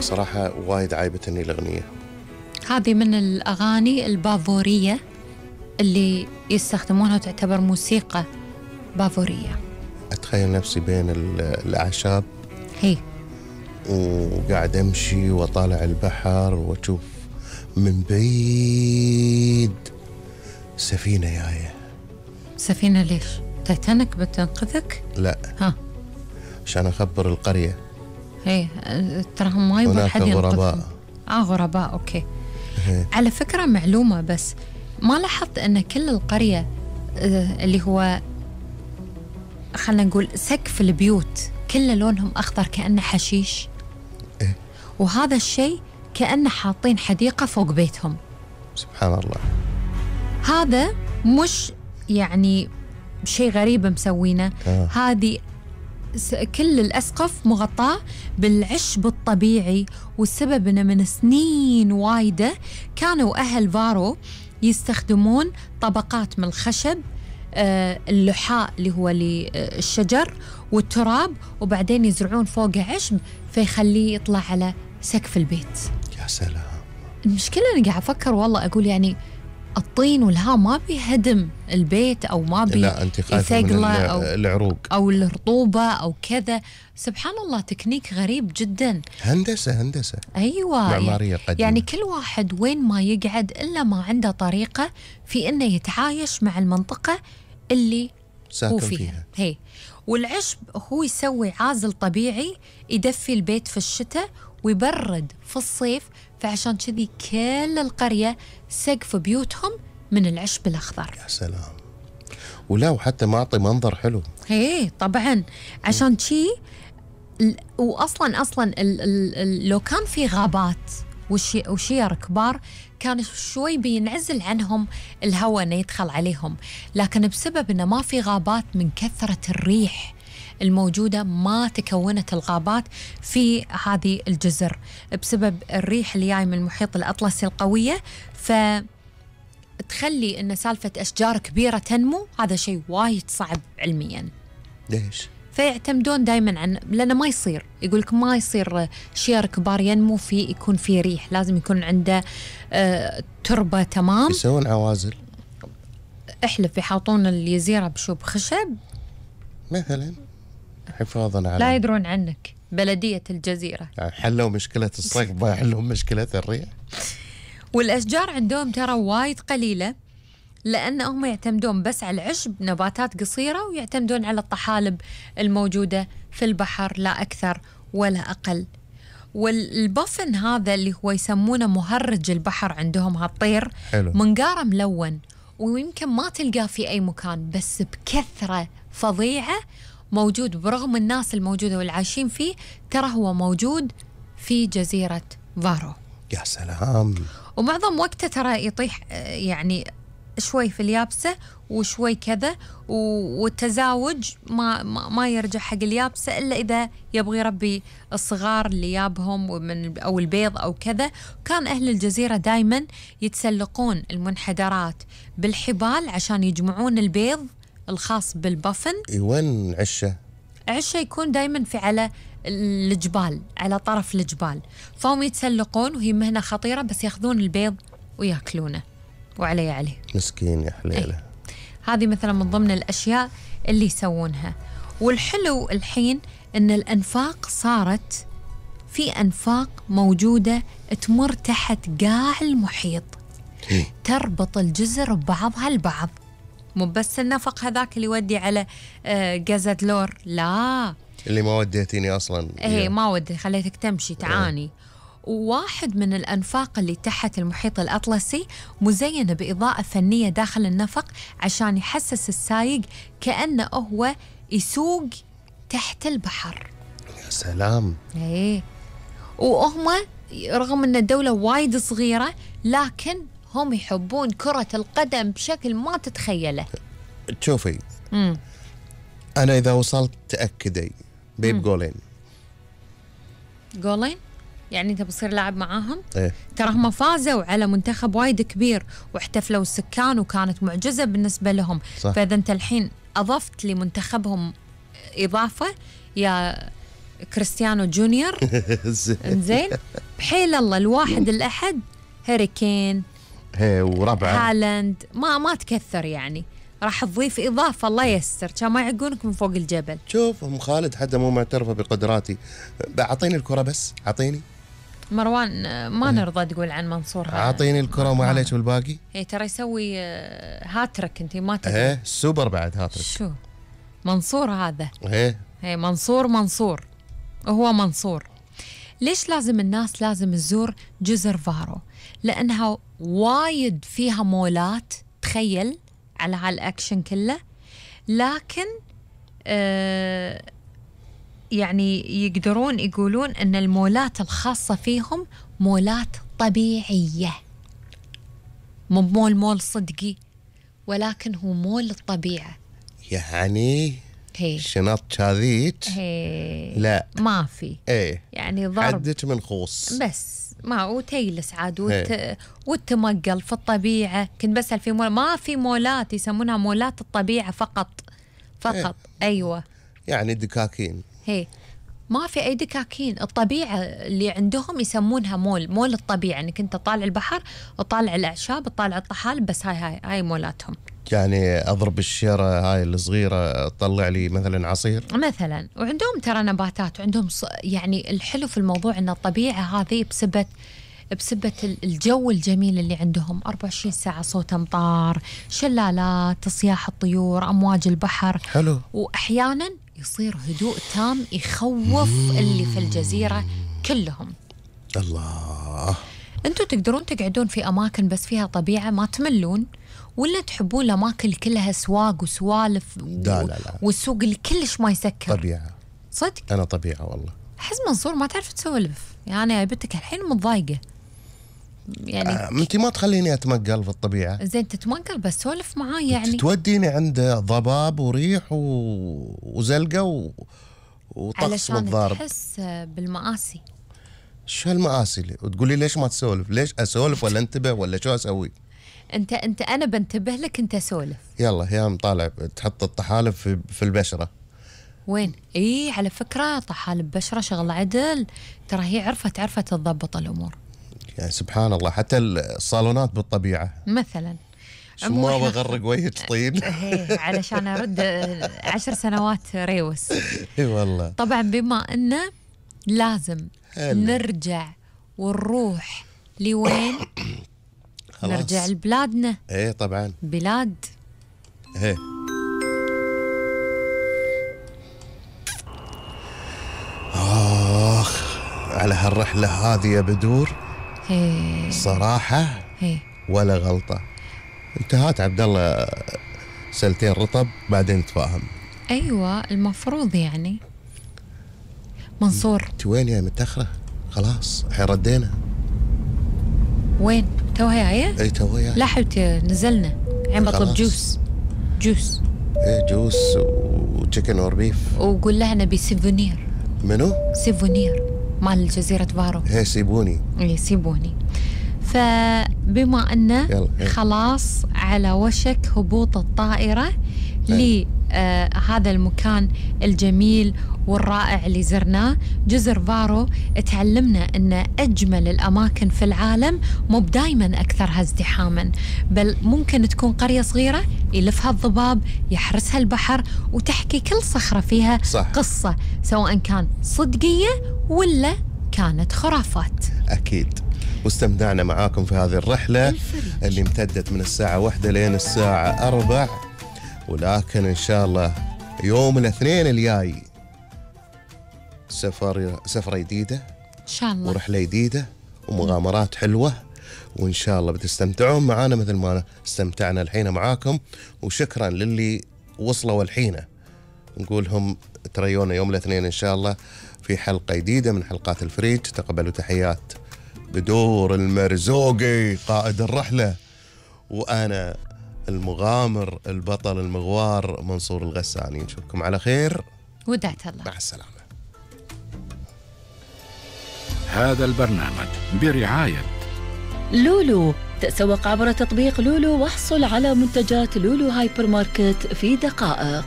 صراحة وايد عايبتني الأغنية. هذه من الأغاني البافورية اللي يستخدمونها، تعتبر موسيقى بافورية. أتخيل نفسي بين الأعشاب هي وقاعد أمشي وأطالع البحر وأشوف من بعيد سفينة جاية. سفينة ليش؟ تايتانيك بتنقذك؟ لا، ها، عشان أخبر القرية. هي تراهم ما يبغى حد ينقذهم. غرباء. غرباء، أوكي. هي. على فكرة معلومة بس، ما لاحظت أن كل القرية اللي هو خلنا نقول سقف البيوت كله لونهم أخضر كأنه حشيش؟ إيه؟ وهذا الشيء كأنه حاطين حديقة فوق بيتهم. سبحان الله. هذا مش يعني شيء غريب مسوينه. هذه كل الأسقف مغطاة بالعشب الطبيعي، والسبب أنه من سنين وايدة كانوا أهل فارو يستخدمون طبقات من الخشب، اللحاء اللي هو الشجر والتراب، وبعدين يزرعون فوقه عشب فيخليه يطلع على سقف البيت. يا سلام. المشكلة أنا قاعد أفكر والله، أقول يعني الطين والهواء ما بيهدم البيت أو ما بيثقله أو العروق أو الرطوبة أو كذا. سبحان الله، تكنيك غريب جدا. هندسة أيوة، معمارية قديمة. يعني كل واحد وين ما يقعد إلا ما عنده طريقة في إنه يتعايش مع المنطقة اللي هو فيها. هي. والعشب هو يسوي عازل طبيعي يدفي البيت في الشتاء ويبرد في الصيف، فعشان كذي كل القرية سقف بيوتهم من العشب الأخضر. يا سلام. ولا وحتى معطي منظر حلو. هي طبعا عشان شي. وأصلا لو كان في غابات وشير كبار كان شوي بينعزل عنهم الهواء انه يدخل عليهم، لكن بسبب انه ما في غابات من كثرة الريح الموجودة ما تكونت الغابات في هذه الجزر بسبب الريح اللي جاي من المحيط الأطلسي القوية، فتخلي ان سالفة أشجار كبيرة تنمو. هذا شيء وايد صعب علميا. ليش؟ فيعتمدون دائما لأنه ما يصير، يقولك ما يصير شير كبار ينمو يكون فيه ريح، لازم يكون عنده تربة تمام. يسوون عوازل، احلف يحاطون الجزيرة بشوب خشب مثلا حفاظا على، لا يدرون عنك بلدية الجزيرة. يعني حلوا مشكلة الصيف ما يحلون مشكلة الريح. والأشجار عندهم ترى وايد قليلة، لأنهم يعتمدون بس على العشب، نباتات قصيرة، ويعتمدون على الطحالب الموجودة في البحر، لا أكثر ولا أقل. والبفن هذا اللي هو يسمونه مهرج البحر عندهم، هالطير منقاره ملون، ويمكن ما تلقاه في أي مكان، بس بكثرة فظيعة موجود برغم الناس الموجودة والعايشين فيه. ترى هو موجود في جزيرة فارو. يا سلام. ومعظم وقته ترى يطيح يعني شوي في اليابسة وشوي كذا، والتزاوج ما يرجع حق اليابسة إلا إذا يبغي يربي الصغار اللي يابهم أو البيض أو كذا. كان أهل الجزيرة دايما يتسلقون المنحدرات بالحبال عشان يجمعون البيض الخاص بالبفن. وين عشة يكون دايما في على الجبال، على طرف الجبال، فهم يتسلقون، وهي مهنة خطيرة، بس ياخذون البيض وياكلونه عليه. مسكين يا حليله. هذه مثلا من ضمن الأشياء اللي يسوونها. والحلو الحين إن الأنفاق صارت في أنفاق موجودة تمر تحت قاع المحيط، تربط الجزر ببعضها البعض، مو بس النفق هذاك اللي يودي على جازت لور، لا اللي ما وديتيني أصلا. ما ودي، خليتك تمشي تعاني. وواحد من الأنفاق اللي تحت المحيط الأطلسي مزينة بإضاءة فنية داخل النفق عشان يحسس السايق كأنه هو يسوق تحت البحر. يا سلام. وهم رغم أن الدولة وايد صغيرة، لكن هم يحبون كرة القدم بشكل ما تتخيله. تشوفي، أنا إذا وصلت تأكدي بيب جولين يعني أنت بصير لاعب معاهم؟ إيه؟ ترى هم فازوا على منتخب وايد كبير واحتفلوا السكان وكانت معجزة بالنسبة لهم. صح. فإذا أنت الحين أضفت لمنتخبهم إضافة، يا كريستيانو جونيور. إنزين بحيل الله الواحد الأحد هاري كين وربعه هالاند ما تكثر يعني، راح تضيف إضافة الله يستر كان ما يعقونك من فوق الجبل. شوف أم خالد حتى مو معترفة بقدراتي، أعطيني الكرة بس، أعطيني مروان ما نرضى تقول عن منصور أعطيني الكرة وما عليك بالباقي. ترى يسوي هاترك انت ما تدري. السوبر بعد هاترك. شو منصور هذا؟ منصور هو منصور. ليش لازم الناس لازم تزور جزر فارو؟ لأنها وايد فيها مولات، تخيل على هالأكشن كله، لكن يعني يقدرون يقولون أن المولات الخاصة فيهم مولات طبيعية، مو مول صدقي، ولكن هو مول الطبيعة. يعني شنط كاذيك لا ما في يعني ضرب حدك من خوص بس ما وتيلس عاد والتمقل في الطبيعة. كنت بسأل في ما في مولات يسمونها مولات الطبيعة فقط. أيوة يعني دكاكين ما في أي دكاكين. الطبيعة اللي عندهم يسمونها مول الطبيعة، انك انت طالع البحر وطالع الأعشاب وطالع الطحالب، بس هاي مولاتهم. يعني أضرب الشيرة هاي الصغيرة تطلع لي مثلا عصير مثلا. وعندهم ترى نباتات، وعندهم يعني الحلو في الموضوع أن الطبيعة هذه بسبة الجو الجميل اللي عندهم 24 ساعة صوت أمطار، شلالات، صياح الطيور، أمواج البحر. حلو. وأحيانا يصير هدوء تام يخوف اللي في الجزيرة كلهم. الله. أنتوا تقدرون تقعدون في أماكن بس فيها طبيعة ما تملون، ولا تحبون الأماكن كلها سواق وسوالف لا. والسوق اللي كلش ما يسكر؟ طبيعة. صدق أنا طبيعة والله. أحس منصور ما تعرف تسولف يعني، بنتك الحين متضايقة يعني. أنت ما تخليني أتمقل في الطبيعة. زين تتمقل بس سولف معاي يعني. توديني عند ضباب وريح وزلقة وطقس والضارب. علشان تحس بالمآسي. شو هالمآسي اللي وتقولي ليش ما تسولف؟ ليش أسولف ولا انتبه ولا شو أسوي؟ انت أنا بنتبه لك، انت سولف. يلا يا مطالع تحط الطحالب في البشرة. وين؟ على فكرة طحالب بشرة شغل عدل، ترى هي عرفت تضبط الأمور يعني سبحان الله. حتى الصالونات بالطبيعة مثلا. ما بغرق وجهك طين علشان أرد 10 سنوات ريوس. اي والله. طبعا بما أنه لازم نرجع ونروح لوين؟ نرجع لبلادنا. طبعا بلاد على هالرحلة هذه يا بدور صراحة ولا غلطة. انتهت عبد الله سلتين رطب بعدين نتفاهم. أيوة المفروض يعني. منصور انت وين يا متأخرة؟ خلاص الحين ردينا. وين؟ توها جاية؟ توها. لا حبيبتي نزلنا الحين بطلب جوس. جوس وتشيكن اور بيف. وقول لها نبي سيفونير. منو؟ سيفونير مال جزيرة فارو. سيبوني. سيبوني. فبما أنه خلاص على وشك هبوط الطائرة لهذا المكان الجميل والرائع اللي زرناه جزر فارو، تعلمنا أن أجمل الأماكن في العالم مو دايما أكثرها ازدحاما، بل ممكن تكون قرية صغيرة يلفها الضباب يحرسها البحر وتحكي كل صخرة فيها قصة، سواء كان صدقية ولا كانت خرافات. أكيد. واستمتعنا معاكم في هذه الرحلة اللي امتدت من الساعة 1 لين الساعة 4، ولكن إن شاء الله يوم الاثنين الجاي سفرة جديدة إن شاء الله، ورحلة جديدة ومغامرات حلوة، وإن شاء الله بتستمتعون معانا مثل ما استمتعنا الحين معاكم. وشكرا للي وصلوا الحين، نقولهم تريونا يوم الاثنين إن شاء الله في حلقة جديدة من حلقات الفريج. تقبلوا تحيات بدور المرزوقي قائد الرحلة، وأنا المغامر البطل المغوار منصور الغساني. نشوفكم على خير، ودعت الله، مع السلامة. هذا البرنامج برعاية لولو. تسوق عبر تطبيق لولو واحصل على منتجات لولو هايبر ماركت في دقائق.